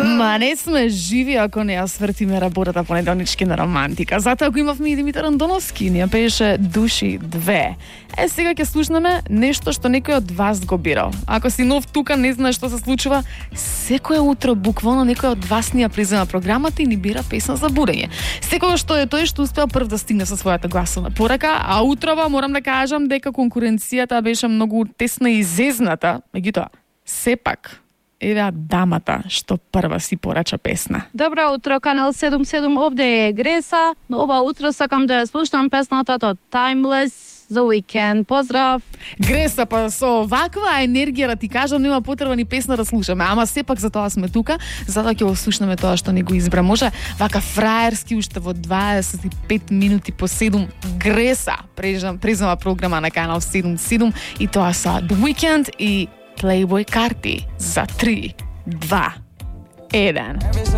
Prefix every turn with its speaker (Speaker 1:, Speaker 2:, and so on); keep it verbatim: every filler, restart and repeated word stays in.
Speaker 1: Ма не сме живи ако не ја свртиме работата понеделнички на романтика. Затоа ако имавме и Димитар Андоновски, ни ја пееше Души две. Е, сега ќе слушнеме нешто што некој од вас го бирал. Ако си нов тука, не знаеш што се случува, секое утро буквално некој од вас ни ја презема програмата и ни бира песна за будење. Секогаш што е тој што успеал прв да стигне со својата гласовна порака, а утрова морам да кажам дека конкуренцијата беше многу тесна и зезната, меѓутоа сепак еве дамата што прва си порача песна.
Speaker 2: Добро утро, канал седум седум, овде е Греса. Ова утро сакам да ја слушам песната од Timeless The Weeknd. Поздрав!
Speaker 1: Греса, па со ваква енергија да ти кажам, нема потреба ни песна да слушаме, ама сепак за тоа сме тука, затоа ќе го слушнеме тоа што не го избра. Може вака фраерски уште во дваесет и пет минути по седум Греса презема програма на канал седум седум и тоа са The Weeknd и Playboy Carti за три, два, еден.